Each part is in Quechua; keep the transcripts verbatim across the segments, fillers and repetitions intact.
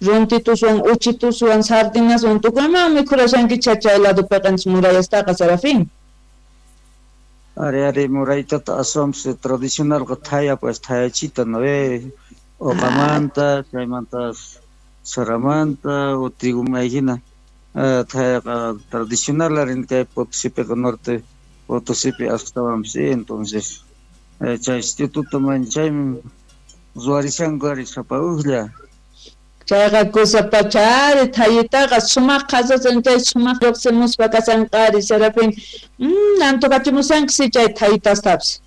Runtituswan, uchituswan, sardinaswan tukuyman mikhurashankicha chay ladopiqa murayastaqa, Serafín. Ari ari muraytata aswanpas tradicionalqa thaya pues thayachita, ¿no ve? Uqamanta, chaymanta saramanta, o trigo hina thayaqa tradicional arin kay Potosipiqa, norte Potosipi astawanpas, entonces chay instituto man chaymi ruwarishanku ari sapa ujlla. Chayqa kusa pacha ari thayitaqa sumaq qhasasan chay sumaq lluqsimuspa kasanqa ari Serafín. Mm, antoqachimusanki chay thayitastapis.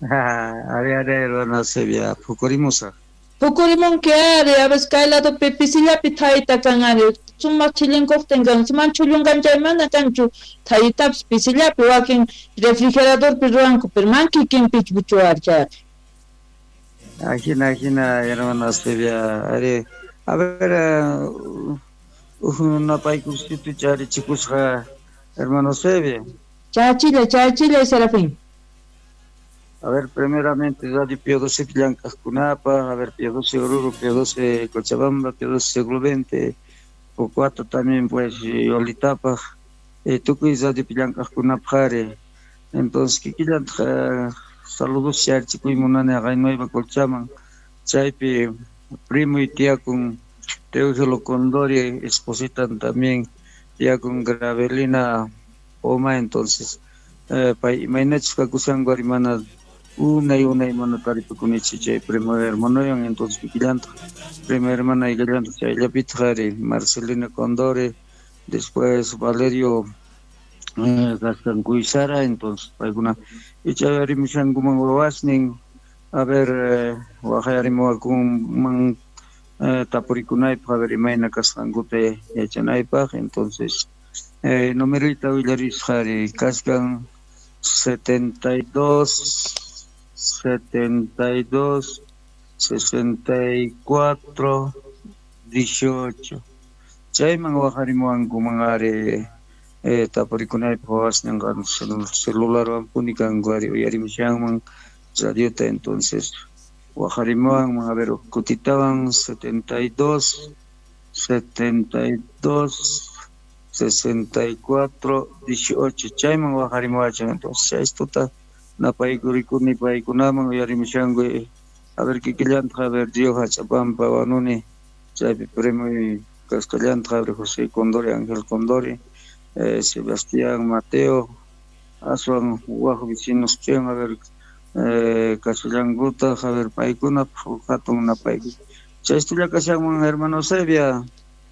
Ari ari hermana Eusebia, phukurimusaq. Phukurimunki ari, a veces kay ladopi pisillapi thayita kan ari, sumaq chillinkuqtin kan, man chullunkan chay mana kanchu thayitapis pisillapi, wakin refrigeradorpi ruwanku, pero man kikinpichu ari chayqa. Ajina, ajina, hermana Eusebia, ari, a ver, uj napaykusitu charichikusqa, hermano Eusebia. Chachilla, chachilla, Serafín. A ver, primeramente, Radio Pío doce llank'aqkunapaq, a ver, Pío doce Oruro, Pío doce Cochabamba, Pío doce Siglo veinte, Pocuato también, pues, Yolitapaq, eh, tukuy Radio llank'aqkunapaq ari. Entonces, kikillantaq saludos charichikuy munani haqay Nueva Colchaman, chaypi primo y tía con Teófilo Condori, esposita también, tía con Gravelina Poma, entonces, eh, pay imaynachus kakushanku ari mana unay unay mana taripakunichu chay primo hermanoyan, entonces kikillantaq prima hermana ikillantaq chayllapitaq ari Marcelina Condori, después Valerio eh, kaskan Kuysara, entonces paykuna icha rimushankuman wawasnin, a ver, eh, waqayarimuwakunman eh, tapurikunaypaq, a ver imayna kasqankuta yachanaypaq, entonces eh, numerita willarisqa ari kaskan setenta y dos, setenta y dos, sesenta y cuatro, dieciocho. Chayman waqarimuwankuman ari eh, tapurikunaypaq wawasninqa celularwan puni kanku ari uyarimushanman radiota, entonces waqarimuwanman, a ver, kutitawan setenta y dos, setenta y dos, sesenta y cuatro, dieciocho, chayman waqarimuwachan, entonces chay tuta napaykurikuni paykunaman uyarimushanku, a ver kikillantaq, a ver Río Hachapampa wanuni chaypi primo kasqallantaq, a ver José Condori, Ángel Condori, eh, Sebastián Mateo, aswan waj vecinos pian, a ver eh, kasallankutaq, a ver paykunapaq hatun napaykuy. Chaystulla kashanman hermano Eusebia.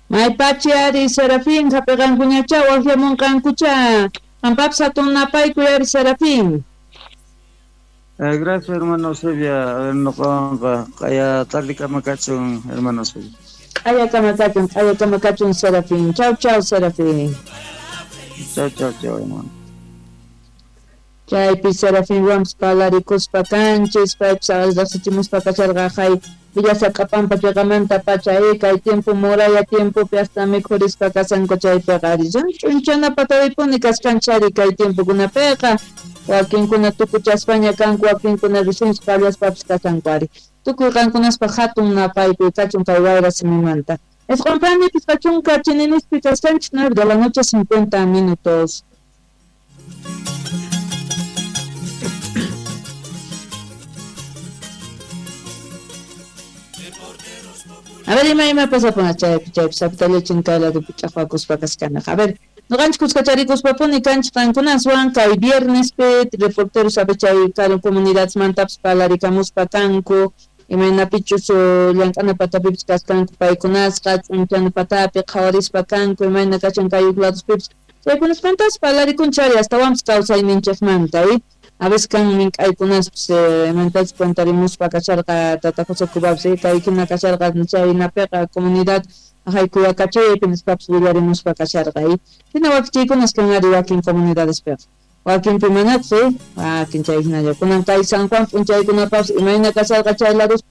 Maypachi ari Serafín, hapiqankuñacha waqyamunqankucha. Qampapis hatun napaykuy ari Serafín. Eh, gracias hermano Eusebia, a ver nuqawanqa q'aya tardikama kachun hermano Eusebia. Q'ayakama kachun, q'ayakama kachun Serafín. Chau chau Serafín. Chau chau chau hermano. Chaypi Serafín Rams palarikuspa kanchis, paypis riqsichimuspa kasharqa hay Villasaqapampa chiqamanta pacha kay tiempo muralla tiempopi hasta mikhurispa kasanku chaypiqa ari ch'unchana pataripuni kasqanchari kay tiempokunapiqa wakinkuna tukuchaspaña kanku, wakinkuna recién qallaspapis kasanku ari. Tukuy qankunaspa hatun napaykuy kachun kay wayra simimanta. Isqun pani pichqa chunka chininispi kasqanchis nueve de la noche cincuenta minutos. A ver, ima ima pasapun chaypi chaypi sapitallachin kay ladopi ch'aqwakuspa kaskanaq. A ver, nuqanchik kuskacharikuspa-puni kanchik qankunaswan kay viernespi reporteros a ver chay karu comunidadmantapas parlarikamuspa kanku, imaynapichus llank'ana patapipis kaskanku paykunasqa, ch'unchana patapi qhawarispa kanku, imayna kashan kay huk ladospipis. Chaykunasmantas parlarikunchari astawanpas kawsayninchikmanta, eh? A veces kan mink'aykunaspis imantachus cuentarimuspa kasharqa tata José Cubapis, kay hina kasharqa chaynapiqa comunidad haykuyakachaypi nispapis willarimuspa kasharqa, hina wakichiykunas kan ari wakin comunidades-piqa. Wakinpi manachus, wakin chay hinalla. Kunan kay San Juan p'unchaykunapapis imayna kasharqa chay lados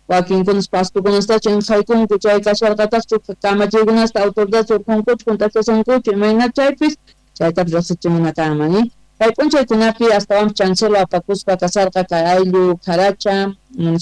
wakinkunas pastukunastachu inqaykunku chay kasharqataqchu kamachiykunasta autoridad surqunkuchu juntachashankuchu imayna chaypis chaytapis riqsichimuna kanman, eh? Kay p'unchaykunapi astawanpas chancelo apakuspa kasharqa kay ayllu Jaracha municipio